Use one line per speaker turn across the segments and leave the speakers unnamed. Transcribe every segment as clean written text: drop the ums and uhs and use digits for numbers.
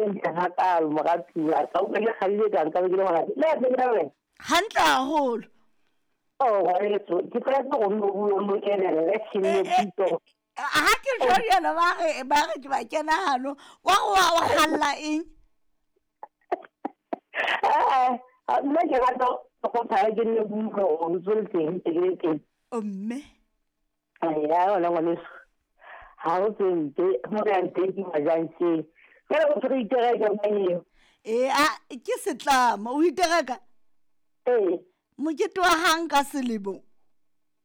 Ntle hakaalo moratuwa ka utlwa ke kgadile ka nka be ke le monate le a tsebela wena.
Hantle haholo.
Oh ngwaneso ke tlwaetse go nno bua mo kenelle ke nne pitso.
Ha ke jwa jalo ba re ba re ke ba kena hano wa go wa o galla eng?
Nna ke rata go phaya ke nne buka o ntse le teng ke le teng.
O mme.
Ya yona ngwaneso ga o tse mpe mo re yang teng ke majankeng jale go re itereka mang eo.
Ee a ke setlamo o itereka?
Ee.
Mokete wa gang ka selemo.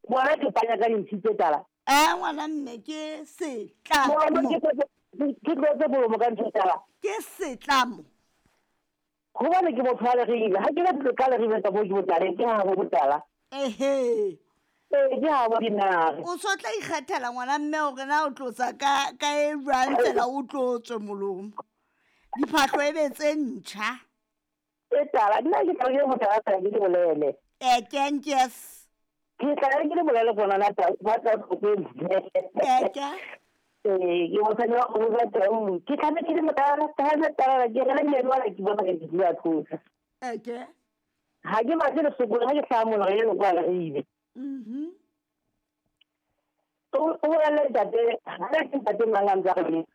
Bona ke panya ka dintshi tse tala.
A ngwana mme ke setlamo.
Ke tlotse bolomo ka ntho tala.
Ke setlamo.
Gobane ke motho wa leribe ga ke batle ka leribe tsa bo ke botaleng ke ga bo botala.
Ehe.
Ee ke ga bo dinare.
O so tla ikgethela ngwana mme gore na o tlotsa ka ka e jwang tsela o tlotswe molomo. Diphahlo e be tse ntšha.
E tala nna ke tla ke motho a sa ke bolele.
E kenkes.
Ke tla ke le bolele gona na tla ba tla go ke.
Eke.
Ee ke mosadi wa go ba tau ke tla ke le motala tala tala ke re le meno ke bona ke di a tlosa.
Eke.
Ha ke batle le sokolo ha ke tlhaa mono re le kwa leribe.
Mhm.
O bolelle ntate ha ke ntate mang a ntse a re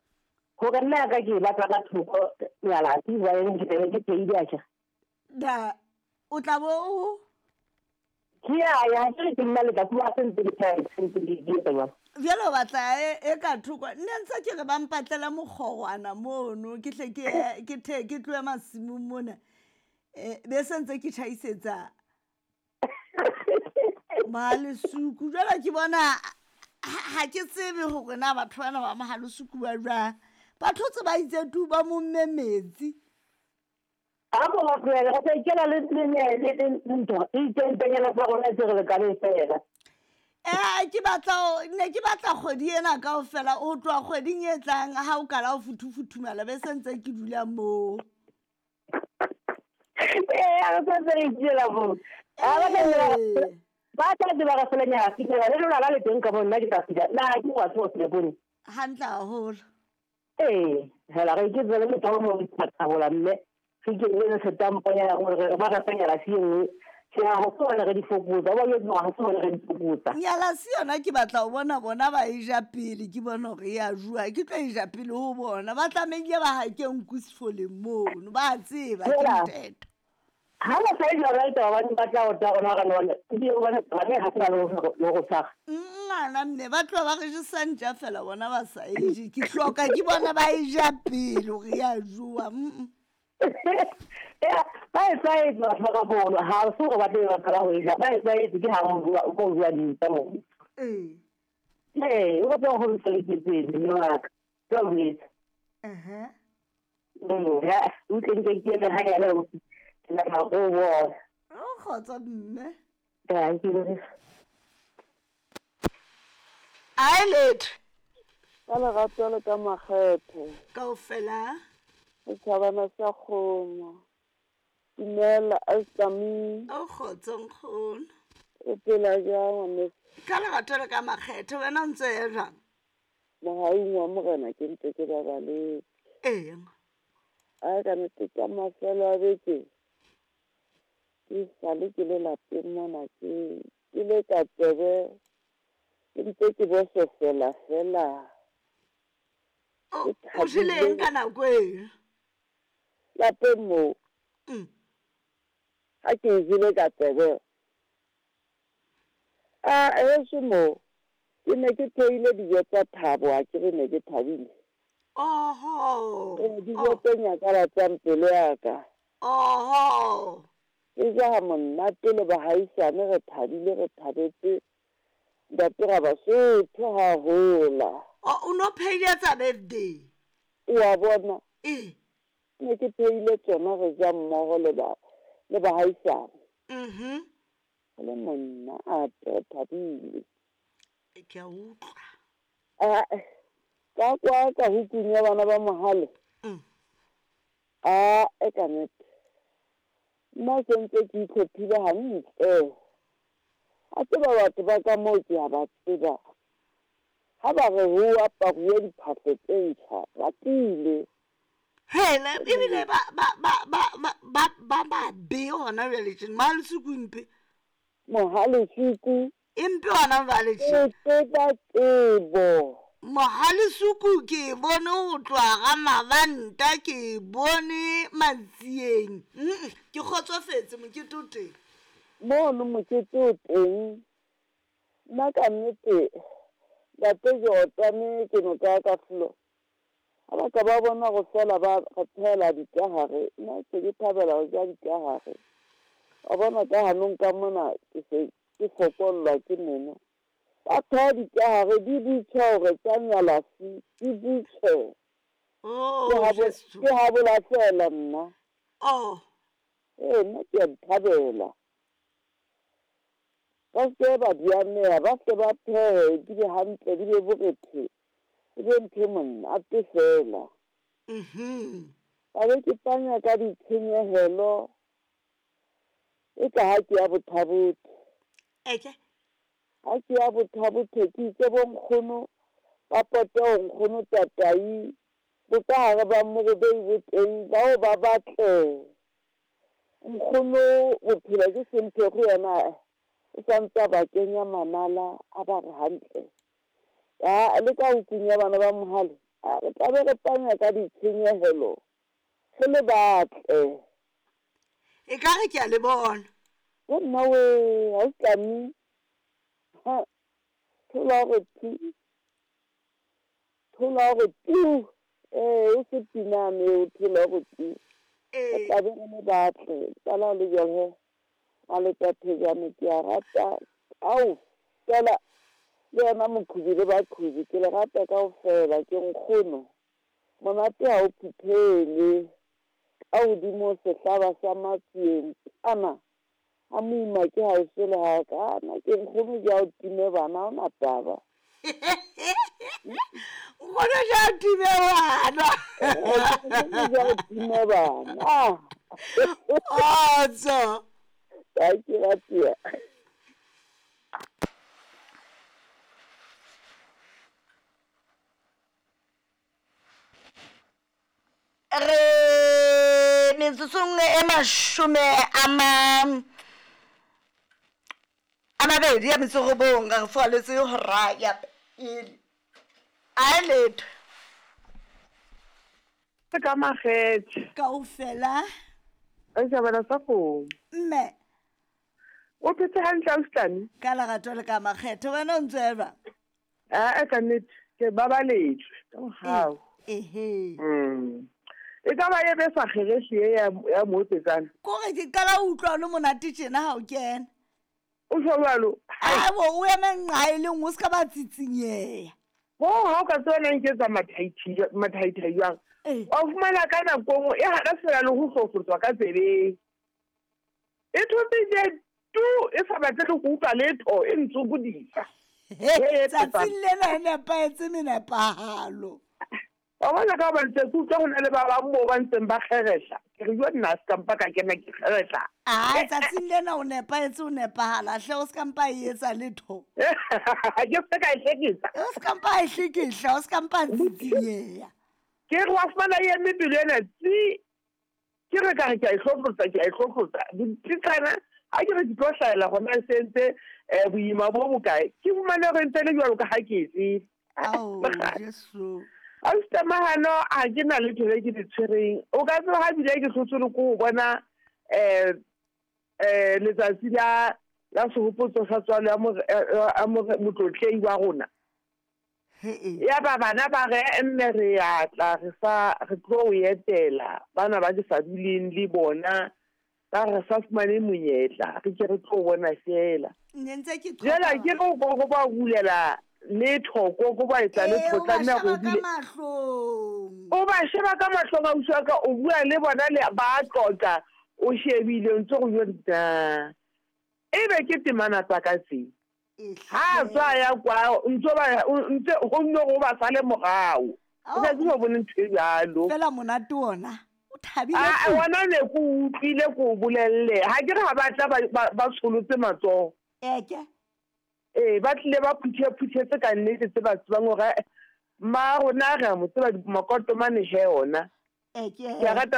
gore nna ka ke batla ka thoko nyalati ba eng ke tebe ke pheile a ja.
Da o tla bo o
ke ya ya ke ke nna le ka kuma sentse ke tla sentse ke di etsa jwang.
Bjale o batla e ka thoko nne ntse ke re ba mpatlela mokgorwana mono ke tle ke ke the ke tlohe masimong mona. Be se ntse ke tjhaisetsa Mohalesuku jwale ke bona ha ke tsebe hore na batho bana ba Mohalesuku ba jwang. Batho tse ba itse tu ba momme metsi.
A mo ba tlohele re tla ikela le le ntho e itseng tsa rona tse re lekaneng fela.
Ke batla ne ke batla kgwedi ena kaofela o tloha kgweding e tlang ha o kala o futhufuthumala be se ntse ke dula moo.
Ee a re santse re ikela moo. Ba tla tseba re fela nyala fihlela le lona la le teng ka mo nna ke tla fihla na ke wa tseba se bone.
Hantle haholo.
Ee hela re ke tsebe le tlo mo thabola mme re ke le setamponyana gore ba re fa nyala si nngwe. Ke a go bona re di fokotsa ba yetsa ga se bona re di fokotsa.
Nyala si yona ke batla ho bona bona ba e ja pele ke bona hore ya jua ke tlo e ja pele ho bona ba tlamehile ba hake nku sefoleng mono ba tseba ke ntete.
Ha ba sa e ja right ba ba tla o tla rona re none ke bona ba ne ha se ba le go tshwara.
Ngwana mme ba tloha ba re jesa ntja fela bona ba sa e je ke hloka ke bona ba e ja pele hore ya jowa.
Ba e tlwaetse batho ba ka mono ha se gore ba tle ba qala ho e ja ba e tlwaetse ke ha o ko bua dintsa mo.
Ee.
Ee o batla go ntse mme wa ka ke a boetse.
Ehe.
Ya o tle nke ke eme ha yana o ke batla go bona.
O kgotsa mme.
Ya ke le.
Ai letho.
Ka lerato le ka makgethe.
Kaofela.
Setšhabana sa kgomo. Dumela Astami.
O kgotso nkgono.
O phela jang ngwaneso?
Ka lerato le ka makgethe wena o ntse ya jwang?
Mohaung wa morena ke ntse ke babaletse.
Ee.
A ka nnete ka mafelo a beke ke sale ke le lapeng mona ke ke le ka tsebe ke ntse ke bososela fela.
O jele eng ka nako eo?
Lapeng moo. Ha ke jele ka tsebe. A heso moo ke ne ke theile dijo tsa thabo ha ke re ne ke thabile.
Oho.
Dijo tse nyakalatsang pelo ya ka.
Oho.
Ke ja ha monate le bahaisane re thabile re thabetse ntate ra Basotho ha hola.
O no pheile tsa birthday.
O a bona?
Ee.
Ne ke pheile tsona re ja mmoho le ba le bahaisane.
Mhm.
Le monna a re thabile.
Ke a utlwa.
A ka kwa ka hukung ya bana ba Mohale. A e ka nnete. Nna se ntse ke itlhophile hantle. A tseba batho ba ka moo ke a ba tseba. Ha ba re ho aparuwe diphahlo tse ntjha ba tiile.
Hele, ebile ba ba ba ba ba ba ba babe gona bjale tšene Mohalesuku mpe.
Mohalesuku.
E mpe gona bjale tšene.
O tseba tsebo.
Mohalesuku ke e bone go tloga ga Mabanta ke e bone Matsieng. Mm, ke kgotsofetse mokete o teng.
Mono mokete o teng. Nna ka nnete Ntate Jordane ke no kaya ka flo. Ga ba ka ba bona go fela ba re phehela dikagare, nna ke se ke thabela go ja dikagare. Wa bona ka ganong ka mona ke se ke fokollwa ke meno. Ba pheha dikagare di butšhe gore tša nyalafi di butšhe.
Oh,
Ke gabo-
Jesu.
ke gabola fela nna.
Oh,
Ee, nna ke a di thabela. Ba se ke ba di aneha, ba hle ba phehe di be hantle, di be borethe, e be ntho e monate feela. Ka be ke panya ka ditshenyehelo e ka ha ke ya Bothabothe.
Eke.
Ha ke ya Bothabothe ke itse bo nkgono ba pote ho nkgono Tatai, bokahare ba Morobei bo teng, bao ba batle. Nkgono bophelo ke semphego yena o sa ntse a ba kenya manala a ba re hantle. Ya le ka hukung ya bana ba Mohale a re tla be re panya ka ditshenyehelo re le batle.
E ka re ke a le bona.
Yo nna wee ha o tlame ha thola gore thi Thola gore tu! Ee, e se pinane eo, thola gore tu! Re tla be re le batle. Tsala le jwale he, Maletathejane ke a rata kaofela, le yena Mokhubi le Bakhubi ke le rata kaofela. Ke nkgono, monate ha o phuthelwe ka hodimo sehlaba sa Matsieng kana. Ga moima ke gaešo le ga ka na ke nkgono ja o time bana o na taba.
Nkgono ja o time bana.
Nkgono ja o time bana.
Otso.
Ka ke ratia.
Re metsotsong e mashome a ma a mabedi ya metsorobong re foaletse hora ya pele a e letho
Ka makgethe.
Kaofela.
Re jabana sa kgomo.
Mme.
O phetse hantle ausi.
Ka lerato le ka makgethe wena o ntse eba.
Aa ka nnete ke babaletswe ka mogau.
Ehe.
E ka ba e be sa kgerehle ye ya ya mootsetsana.
Kore ke qala ho utlwa o le monate tjena ha o kena.
O tjho jwalo?
Abo o eme nqa e le nngwe o se ka ba tsitsinyeha.
Ho ha o ka tseba na nketsa mathaithai jwang. Wa fumana ka nako e nngwe e hana fela le ho hlohlotswa ka tsebeng. E thotse je tu e sa batle le go utlwa letho e ntsokodisa.
Tsatsing lena e nepahetse menepahalo.
Wa bona ka gobane se ke utlwa go na le ba bang moo ba ntseng ba kgerehla. Ke re jo nna se ka mpa ka kena ke kgerehla.
Ai tsatsing lena o nepahetse o nepahala hle o se ka mpa e etsa letho.
Ke se ka e hlekisa.
O se ka mpa e hlekehla o se ka mpa tsitsinyeha.
Ke re wa fumana e eme pelo ena tsi. Ke re ka re ke a e hlohlotsa, ke a e hlohlotsa. Ditsana ha ke re ke tlo hlahela gona e sentse um boima bo bokae. Ke fumane gore ntse le jwalo ka ha ke e tseba.
Ao, Jesu.
Ausi Mahano ha ke na letho le ke le tshwereng. O ka tseba ha bile ke hlotswe le ko go bona um um letsatsi la la sehopotso sa tswalo ya motlotlei wa rona. Ya ba bana ba re, Mme re ya tla, re sa, re tlo o etela. Bana ba ke sa duleng le bona ba re sa fumane monyetla, re ke re tlo bona feela.
Ne ntse ke
Jwale
qhoka.
ke re ko go ba bulela letho, ko go ba etsa
Ee,
letho,
o ba
tlameha
sheba
go
ka
bule.
mahlong.
O ba sheba ka mahlong ausi wa ka, o bua le bona le ba tlotla, o shebile o ntse go jo nna. Ebe ke temana tsa ka tse. Ha a tswa ya kwa ntse ba ntse go nne go ba sale morago. O sa tsebe bone ntho e jalo.
Fela monate ona. O thabile.
A ona ne ko utlwile ko bolelle. Ha ke re ha ba tla ba tsholotse matsoho.
Eke.
Ee, ba tlile ba phuthe-phuthetse ka nnete tse ba tsebang hore mma rona re a mo tseba makoto mane he ona.
Eh, ke
Ke a rata.